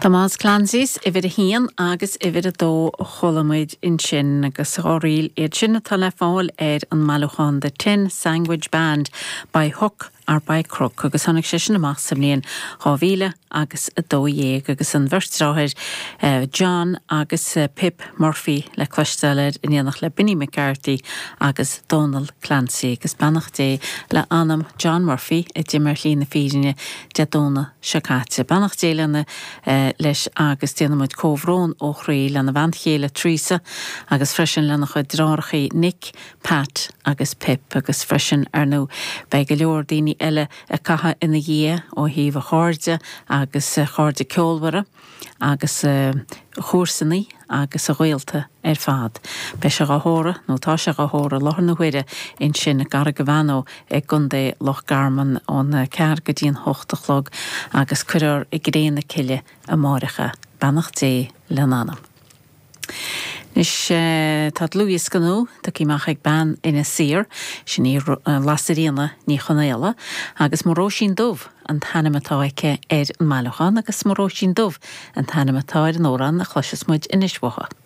Tomás Clancy's uimhir a haon agus uimhir a dó a chuala muid ansin agus dá ríl iad sin atá le fáil ar an mbailiúchán The Tin Sandwich Band by Hook or by Crook agus tháinig sé sin amach sa mbliain 2000 agus 12 agus an bheirt deartháir John agus Pip Murphy le cloisteáil air in éineacht le Benny McCarthy agus Dónal Clancy agus beannacht Dé le anam John Murphy a d'imigh ar shlí na fírinne Dé Domhnaigh seo caite. Beannacht Dé lena leis agus déanann muid comhbhrón ó chroí lena bhean chéile Teresa agus freisin lena chuid deartháireachaí Nick, Pat agus Pip agus freisin ar ndóigh beidh go leor daoine eile ag caitheamh ina dhiaidh ó thaobh a chairde agus a chairde ceolmhara agus a chomharsanaí agus a ghaolta ar fad. Beidh sé dhá thórramh, nó tá sé dhá thórramh i láthair na huaire ansin i gCarraig an Mheánó i gContae Loch Garman óna ceathair go dtí an hocht a chlog agus cuirfear i gcré na cille amáireach é. Beannacht Dé lena anam. Anois tá dlúthdhiosca nua tugtha amach ag bean Inis Oírr, sin í Lasairfhíona Ní Chonaola, agus Mo Róisín Dubh an t-ainm atá aici ar an mbailiúchán agus Mo Róisín Dubh an t-ainm atá ar an amhrán a chloisfeas muid anois uaithi.